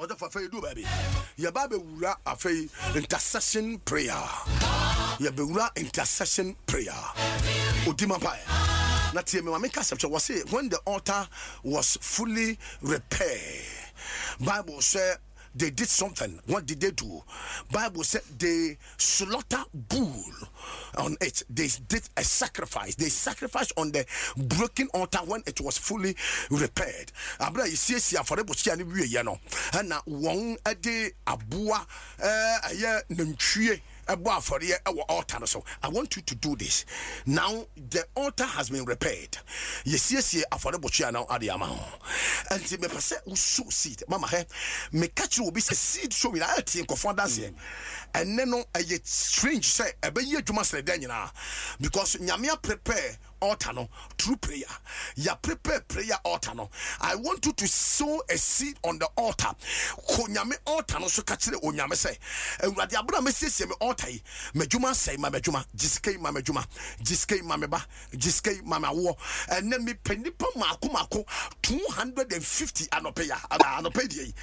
Ɔsɔfo afei yɛduu baabi yɛba abɛwura afei intercession prayer yɛbɛwura intercession prayer odi ma mpaeɛ na tie me ma meka sɛm kyɛ wɔ se when the altar was fully repaired Bible sɛ they did something what did they do Bible said they slaughter bull on it. They did a sacrifice. They sacrificed on the broken altar when it was fully repaired. Abra yɛsiesie afɔrebukyia no wieɛ no, ɛna wɔn de aboa ɛyɛ nantwie ɛbɔ afɔreɛ ɛwɔ altar no so. I want you to do this. Now the altar has been repaired. Yɛsiesie afɔrebukyia no ade ama ho. Ɛnti mepɛ sɛ wo sow seed. Mama hɛ, meka kyerɛ obi sɛ seed sowing ayɛ tie nkɔfo adanseɛ. Ɛnnɛ no ɛyɛ strange sɛ ɛbɛyɛ adwuma sene dɛn nyinaa because Nyame a prepare altar no through prayer. Ya prepare prayer altar no. I want you to sow a seed on the altar. Kɔ Nyame altar no so ka kyerɛ Onyame sɛ, Awurade abere a mesiesie me altar yi, m'adwuma asɛe, ma m'adwuma, gye sika yi ma m'adwuma, gye sika yi ma me ba, Gye sika yi ma me awoɔ. Ɛnnɛ mepɛ nnipa mmaako mmaako 250 anɔpa yi a, anɔpa yi deɛ yi.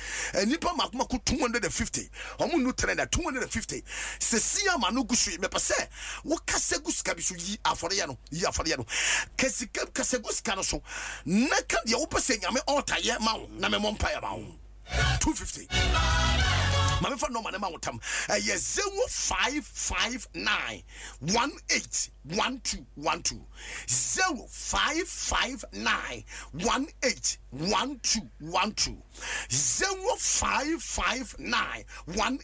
Nnipa mmaako mmaako 250. Wɔn nnu 300, 250. Sɛsi a m'ano gu so yi, mepɛ sɛ wokasa gu sika bi so. Yi afɔreɛ no, yi afɔreɛ no. Ka sika, kasa gu sika no so na ka deɛ wopɛ sɛ Nyame altar yɛ ma wo na memmɔ mpaeɛ ma wo. 250. Ma memfa nɔma no ma wo tam. Ɛyɛ 0559 18 1212 0559 18 1212 0559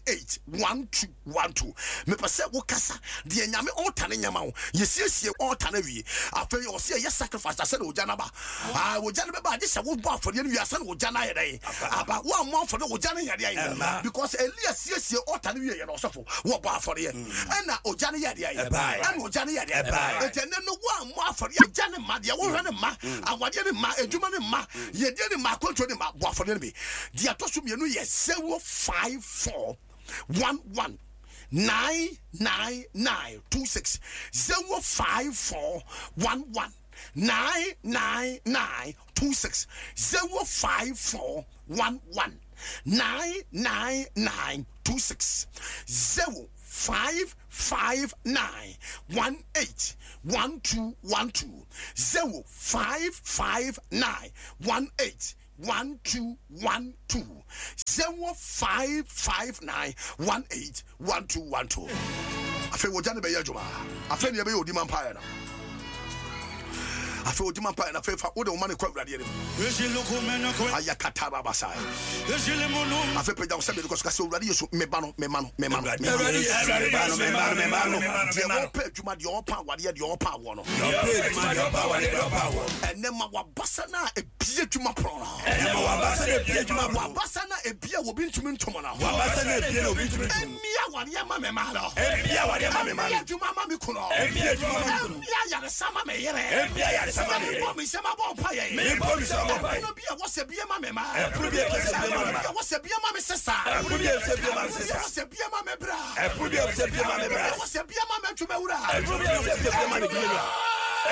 18 1212 Mepɛ sɛ wokasa deɛ Nyame ɔɔta no nyɛ ma wo. Yɛsiesie ɔɔta no awie. Afei ɔse ɛyɛ sacrifice ansa na ogya no aba. Ah, ogya no bɛba agye sɛ wobɔ afɔdeɛ no wie ansa na ogya no ayɛ dɛn? Aba. Woammɔ afɔdeɛ ogya no nyɛ dɛn? Because Elia siesie ɔɔta no wieɛ no ɔsɔfo wɔbɔ afɔdeɛ ɛna ogya no yɛ deɛ ɛna ogya no yɛ deɛ nti ɛnɛ no woammɔ afɔdeɛ ogya no mma deɛ wohwɛ no mma awadeɛ no mma adwuma no mma yɛdeɛ no mma akwantuo no mma bɔ afɔdeɛ no bi deɛ ɛtɔ so mmienu yɛ 054 11 9 9 9 2 6 054 11 9 9 9 2 6 054 11 9 9 9 26 0 5 5 9 1 8 1 2 1 2 0 5 5 9 1 8 1 2 1 2 0 5 5 9 1 8 1 2 1 2 Afei wɔgya no bɛyɛ adwuma. Afei ne yɛbɛyɛ odima mpaeɛ no. Afei odima mpaeɛ no. Afei fa wode wo ma no kɔ Awurade anim. Ayakatarabasai. Afei pagya wo sɛ mmienu kɔ so ka sɛ Awurade Yesu meba no mema no mema no mema no. Deɛ wɔpɛ adwuma deɛ ɔpɛ awadeɛ deɛ ɔpɛ awoɔ no. Ɛnɛ ma wabasa no a ebie adwuma pono no. Ɛnɛ ma wabasa no ebie adwuma pono. Wabasa no a ebie a obi ntumi ntom no. Wabasa no ebie na obi ntumi ntom. Ɛmmie awadeɛ ma me mma no. Ɛmmie awadeɛ ma me mma no. Ɛmmie adwuma ma me kunu. Ɛmmie adwuma ma me kunu. Ɛmmie ayaresa ma me yere. Ɛmmie ayaresa ma me yere. Mebɔ me nsam abɔ mpaeɛ. Mebɔ me nsam abɔ mpaeɛ. Ɛpono bi a ɛwɔ sɛ bie ma me mma. Ɛpono bi a ɛwɔ sɛ bie ma me mma. Ɛpono bi a ɛwɔ sɛ bie ma me sesa. Ɛpono bi a ɛwɔ sɛ bie ma me sesa. Ɛpono bi a ɛwɔ sɛ bie ma me bra. Ɛpono bi a ɛwɔ sɛ bie ma me bra. Ɛpono bi a ɛwɔ sɛ bie ma me adwumawura. Ɛpono bi a ɛwɔ sɛ bie ma me adwumawura.